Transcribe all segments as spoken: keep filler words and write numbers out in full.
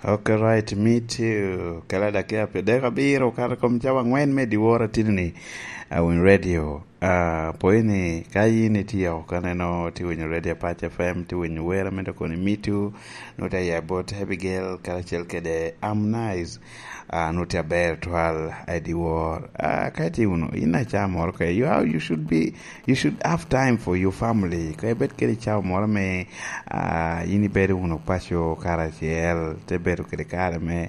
Okay, right, me too. Kala dakika pye dek abiro, kato kom cawa angwen me dyewor atidi ni, uh, Winy Radio. Uh, pwony ni, ka yin itye oko kaneno, tye winyo Radio Apac F M, tye winyo wer ame dok kono i Me Too, nut aye bot Abigail, karacel kede Harmonize, uh, nut aber twal, i dyewor. Uh, ka itye wunu, in aca moro ka, you, are- you should be, you should have time for your family. Ka ibed kede cawa moro me, uh, in ibedo wunu paco karacel, te bedo kede kare me,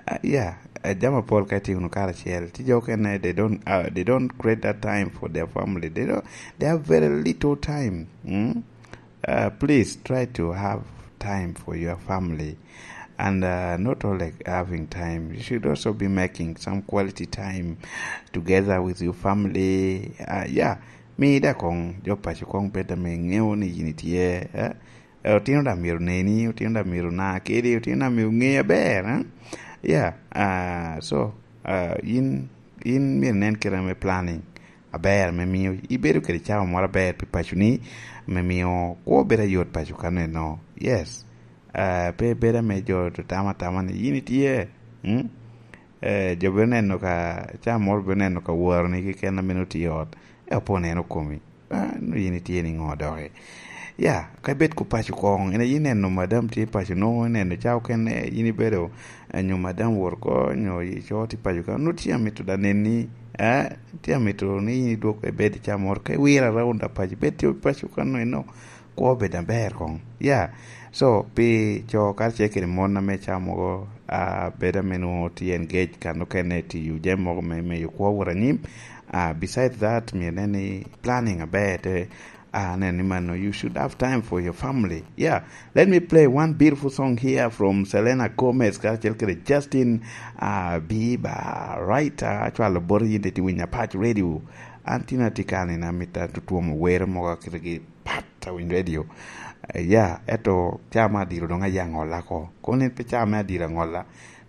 uh, yeah, uh, jami apol ka itye wunu karacel. Ti jo okene, they don't, uh, they don't create that time for their family. They don't, they have very little time. Mm? Uh, please try to have time for your family. And, uh, not only having time, you should also be making some quality time together with your family. Uh, yeah, mi da kong, jo paco kong bed ame ŋeo ni yin itye, eh? Eh, otino da myero neni, otino da myero na kedi, otino da myero ŋe aber, eh? Yeah, uh, so, uh, yin, yin myero nen kite ame planning aber, me mio ibedo kede cawa moro aber pi paconi, me mio kwo bedo ayot paco kaneno. Yes. Eh, pe bedo ame jo to tamo atama ni yin itye, mm? Eh, jo bino neno ka, cawa moro bino neno ka waroni keken ame nongo tye i ot. Eh, opo neno komi. Ah, nongo yin itye ni ŋo doki? Ya, ka ibed ku paco koŋ, in aye ineno madam tye i paco, nongo ineno cawa okene, yin ibedo, eh, nyo madam wot oko, nyo i co tye i paco ka, nongo tye amito da neni, eh, tye amito ni in idwog ibed i cawa moro, ka iwiro around da paco, ibed tye i paco ka nongo inongo kwo bedo aber koŋ. Ya, so, pi co karacel kede mon ame cawa mogo, ah, bedo ame nongo tye engage kan okene tiyo jami mogo me meyo kwo wot anyim, ah, beside that, myero inen ni planning aber te, ah, nen ni mano, you should have time for your family. Yeah, let me play one beautiful song here from Selena Gomez karacel kede Justin, ah, Bieber. Right, ah, acwalo bot yin iti winyo Apac Radio. An tin atye kan in amito atutwomo were mogo akitegi pat a Winy Radio. Eh, ya, eto ca me adiro dong aye aŋolla ko. Kono en pe ca me adiro aŋolla,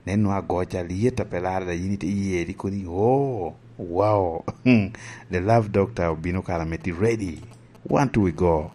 nen nwa agoca lyet a pe larre da yin ite ye di koni, "Oh, wow." The Love Doctor obino kara me ti ready. One, two, we go.